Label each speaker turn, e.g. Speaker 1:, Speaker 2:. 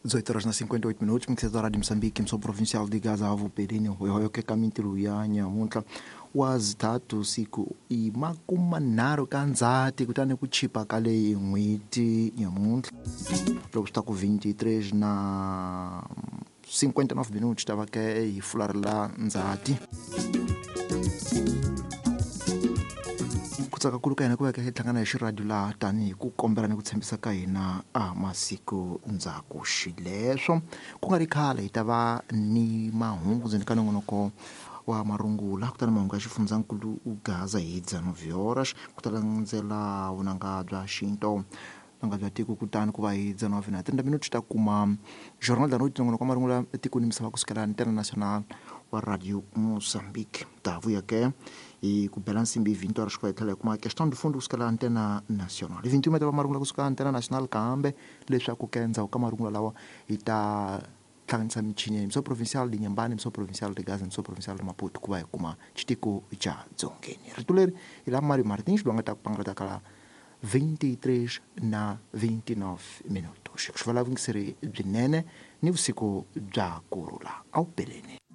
Speaker 1: 18 horas na 58 minutos, mixedora Rádio Moçambique, mso provincial de Gaza, avo Perini, hoyoke kamintiru ya nyamuntla wa zitatu siku i makumanharhu ka Ndzhati kutani ku chipa ka leyi n'hweti nyamuntlha loko swi ta ku 23 na 59 minutos ta va ke hi fularhela Ndzhati. Ku tsaka kulu ka hina ku va hi hlangana hi xiradio laha tanihi ku kombela ni ku tshembisa ka hina a masiku ndzhaku xileswo. Ku nga ri khale hi ta va ni mahungu ndzeni ka nongonoko wa marungula, kutani mahungu ya xifundzankulu Gaza hi 19 horas, ku ta landzela vunanga bya xinto vunanga bya tiko, kutani ku va hi 19 na 30 minutos ta kuma Jornal da Noite, nongonoko wa marungula etikweni misava kusukela Antena Nacional wa Radio Mozambique. Ta vuya ke hi ku bela nsimbi hi 20 horas ku va hi tlhela hi kuma Questão de Fundo kusukela Antena Nacional. Hi 21 ta va marungula kusuka Antena Nacional, kambe leswaku ke endzhaku ka marungula lawa hi ta hlanganisa michini ya Mso Provincial de Inhambane, Mso Provincial de Gaza, Mso Provincial de Maputo ku va hi kuma xitiko xa Dzongeni. Rito leri hi la Mario Martins loyi a nga ta ku pangalata ka 23 na 29 minutos. Ku xivala vuyingiseri byinene ni vusiku bya kurhula. A wu peleni.